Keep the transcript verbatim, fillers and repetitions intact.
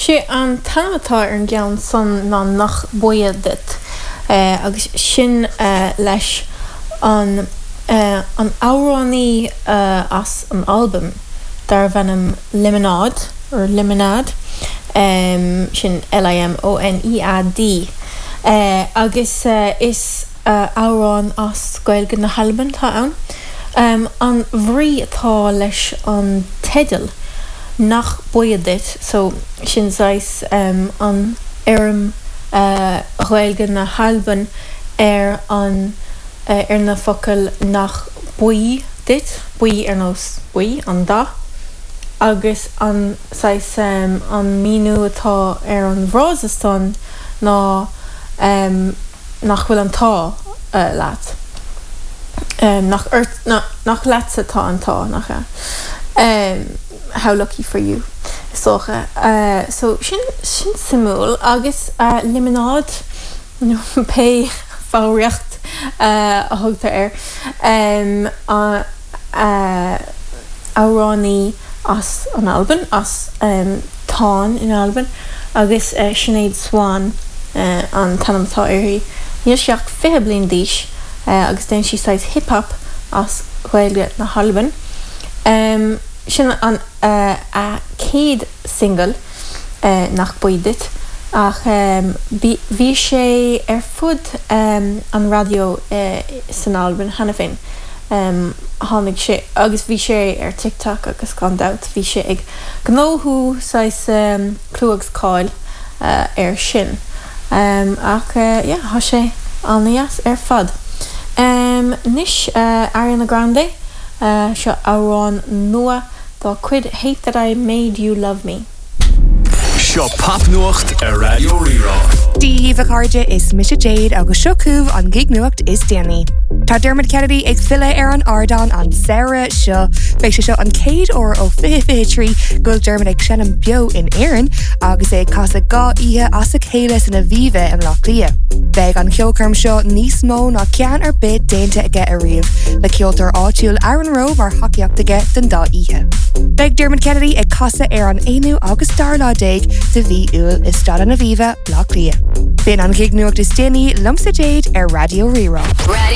Sé an t-ainm atá ar an gceann san ná Nach Buí Duit agus sin leis an an amhránaí as an Albain darbh ainm Limonead or Limonead sin L I M O N E A D agus is amhrán as Gaeilge na hAlban atá ann. An bhrí atá leis an teideal Nach Buí Duit, so sin saghas an fhoirm Ghaeilge na hAlban ar an ar na focail nach buí duit, buí ar nós buí an dath, agus an saghas an míniú atá ar an bhfrása san ná nach bhfuil an t-ádh leat. Nach ort nach leatsa atá an t-ádh nach ea. How lucky for you is dócha. So sin sin suimiúil agus Limonead nó pé foghraíocht a thugtar air amhránaí as an Albain as Tonn in Albain agus Sinéad Swan an t-ainm atá uirthi. Níl sí ach fiche bliain d'aois agus déanann sí saghas hip hop as Gaeilge na hAlban. Sin an a céad single Nach Buí Duit ach bhí sé ar fud an raidió san Albain cheana féin. Tháinig sé agus bhí sé ar TikTok agus gan dabht bhí sé ag gnóthú saghas clú agus cáil ar sin. Ach yeah, tá sé an-deas ar fad. Anois Ariana Grande seo amhrán nua dá cuid Hate That I Made You Love Me. Seo popnuacht ar Raidió Rí-Rá. Dia daoibh a chairde is mise Jade agus seo chugaibh an gig nuacht is déanaí. Tá Dermot Kennedy ag filleadh ar an ardán an samhradh seo Beidh sé seo an chéad uair ó fiche fiche trí go bhfuil Dermot ag seinm beo in Éirinn agus é ag casadh dhá oíche as a chéile san Aviva i mBaile Átha Cliath. Beidh an cheolchoirm seo níos mó ná ceann ar bith déanta aige ariamh, le ceoltóir áitiúil Aaron Rowe mar thacaíocht aige don dá oíche. Beidh Dermot Kennedy ag casadh ar an aonú agus dara lá déag de mhí Iúil i Staid an Aviva Baile Átha Cliath. B'in an gig nuacht is déanaí liomsa Jade ar Raidió Rí-Rá.